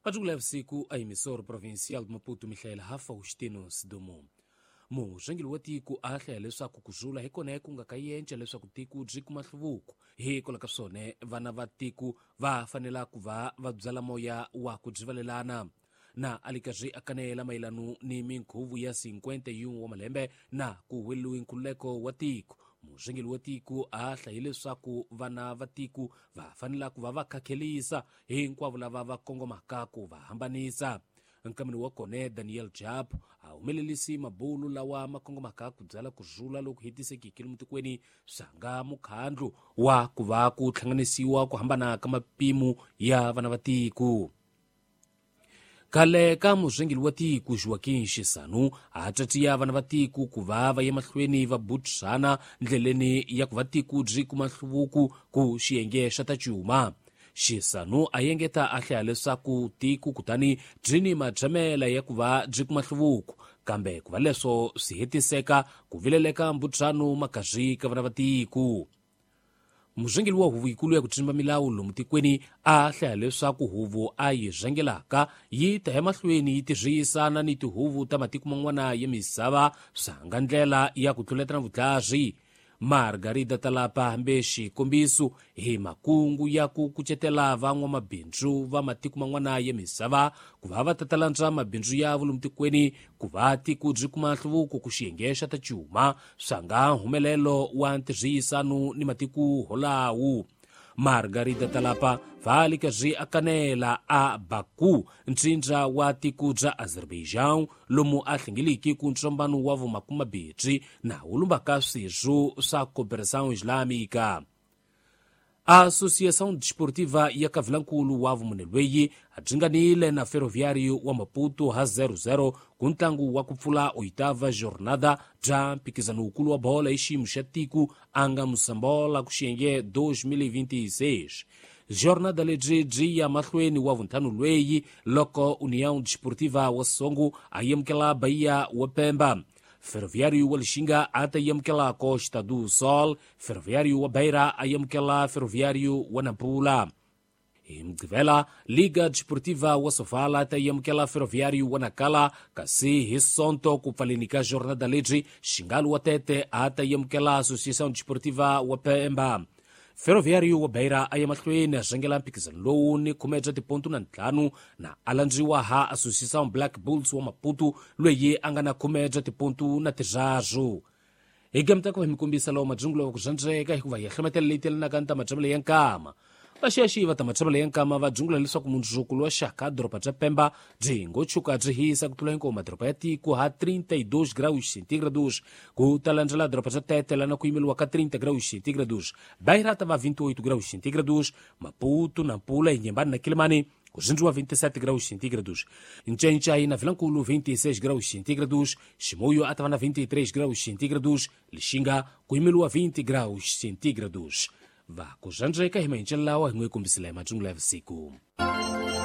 Majungula ya vusiku a emissor provincial de Maputo Mihlaela ha Faustino Sidumo. Murhangeri wa tiko a hlaya leswaku ku rhula hi kona ku nga ka yenca leswaku tiko byi kuma nhluvuko. Hikwalaho ka swona vana va tiko va fanela ku va va byala moya wa ku byivalelana. Na a li karhi a kanela mayelano ni minkhuvo ya 51 wa malembe na ku huweleriwe nkhululeko wa tiko. Murhangeri wa tiko a hlaye leswaku vana va tiko va fanela ku va va khakhelisa hinkwavo lava va kongomaka ku va hambanisa. Nkameni wa kona Daniel Jap a humelerisi mabulu lawa ma kongomaka ku byala ku rhula loku hetisekeke lomu tikweni swa nga mukhandlu wa ku va ku hlanganisiwa ku hambana ka mapimo ya vana va tiko. Khale ka murhangeri wa tiko Joaquim Chissano a tatiya vana va tiko ku va va ya mahlweni va butisana ndleleni ya ku va tiko byi kuma nhluvuko ku xiyenge xa ta cuma. Chissano a engeta a hlaya leswaku tiko kutani byi ni matshamela ya ku va byi kuma nhluvuko, kambe ku va leswo swi hetiseka ku vileleka mbutisano makarhi ka vana va tiko. Murhangeri wa huvo yikulu ya ku tsimba milawu lomu tikweni a hlaya leswaku huvo a yi rhangelaka yi ta emahlweni yi tirhisana ni tihuvo ta matiko man'wana ya misava swa nga ndlela ya ku tluletana vutlhari. Margarida Talapa hambe xikombiso hi makungu ya ku kucetela van'wamabindzu va matiko man'wana ya misava ku va va tatalandza mabindzu ya lomu tikweni ku va tiko byi kuma nhluvuko ku xiyenge xa ta cuma swa nga humelelo wa ntirhisano ni matiko holawo. Margarida Talapa va li karhi a kanela a Baku, ntsindza wa tiko bya Azerbaijan, lomu a hlengeliki ku ntsombano wa vumakumabirhi na wu lumbaka swirho swa Cooperação Islâmica. A Associação Desportiva ya Kavilankulu wa vumune lweyi a dzinganile na Ferroviário wa Maputo ha 0-0 ku ntlangu wa ku pfula oitava jornada bya mphikizano wukulu wa bola hi xiyimo xa tiko a nga Mosambola ku xiyenge 2026. Jornada lebyi byi ya mahlweni wa vuntlhanu lweyi loko União Desportiva wa Songo a yamukela Bahia wa Pemba. Ferroviário wa Lixinga a ta yamukela Costa do Sol, Ferroviário wa Beira a yamukela Ferroviário wa Nampula. Hi Mugqivela, Liga Desportiva wa Sofala ta yamukela Ferroviário wa Nacala, kasi hi Sonto ku pfaleni ka jornada lebyi Xingalu wa Tete a ta yamukela Associação Desportiva wa Pemba. Ferroviário wa Beira a ya mahlweni a rhangela mphikizano lowu ni khume bya tipontu na ntlhanu na a landziwa ha Associação Black Bulls wa Maputo loyi a nga na khume bya tipontu na tirharu. Hi gamta ku va hi mi kombisa lawa madzungulo wa ku zwandzeka hikuva hi hlometela leyi telanaka ni ta matshamelo ya nkama. Vaxiyaxiyi va ta matshamelo ya nkama va dzungula leswaku mundzuku wa xaka doroba bya Pemba byi ngo tshuka byi hisa ku tlula hinkwawo madoroba ya tiko ha 32 graus centígrados, ku ta landzela doroba bya Tete lana ku yimeriwa ka 30 graus centígrados, Beira ta va 28 graus centígrados, Maputo, Nampula, Inhambane na Quelimane ku zindziwa 27 graus centígrados, Ncencai na Vilankulu 26 graus centígrados, Chimoio a ta va na 23 graus centígrados, Lixinga ku yimeriwa 20 graus centígrados. Va ku zwandzeka hi mahencelo lawa hi n'wi kombisile hi matsungula ya vusiku.